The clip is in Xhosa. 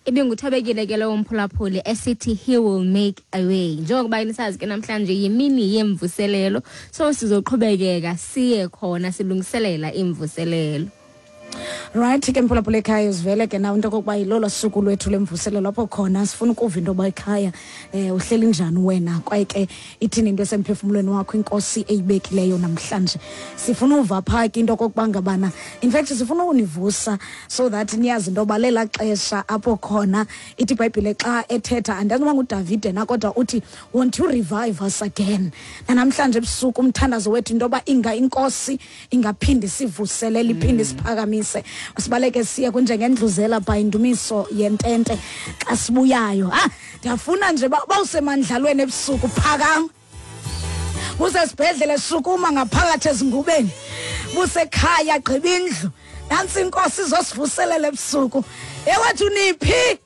Ibinguthobekile ke lowo mphulaphuli esithi he will make a way. Njengokuba nisazi ke namhlanje yimini yemvuselelo, so sizoqhubekeka siye khona silungiselela imvuselelo. Right ke, mphulaphula ekhaya, uzivele ke nawe into okokuba yilolo suku lwethu lemvuselelo apho khona sifuna ukuva into yoba ekhaya uhleli njani wena, kwaye ke ithini into esemphefumlweni wakho inkosi eyibekileyo namhlanje. Sifuna uva phaa ke into okokuba ngabana, in fact sifuna ukunivusa so that niyazi into yoba lela xesha apho khona ithi ibhayibhile xa ethetha, andazi noba nguDavide na, kodwa uthi, "Won't you revive us again?" Nanamhlanje ebusuku umthandazo wethu into yoba inga inkosi ingaphinde sivuselele, iphinde isiphakamise, sibaleke siye kunjengendluzela by Ndumiso Yentente. Xa sibuyayo, ndiyafuna nje bawusemandlalweni ebusuku, phakama. Busesibhedlele, sukuma ngaphakathi ezingubeni. Busekhaya, gqiba indlu. Nantsi inkosi izosivuselela ebusuku. Ewethu, niphi?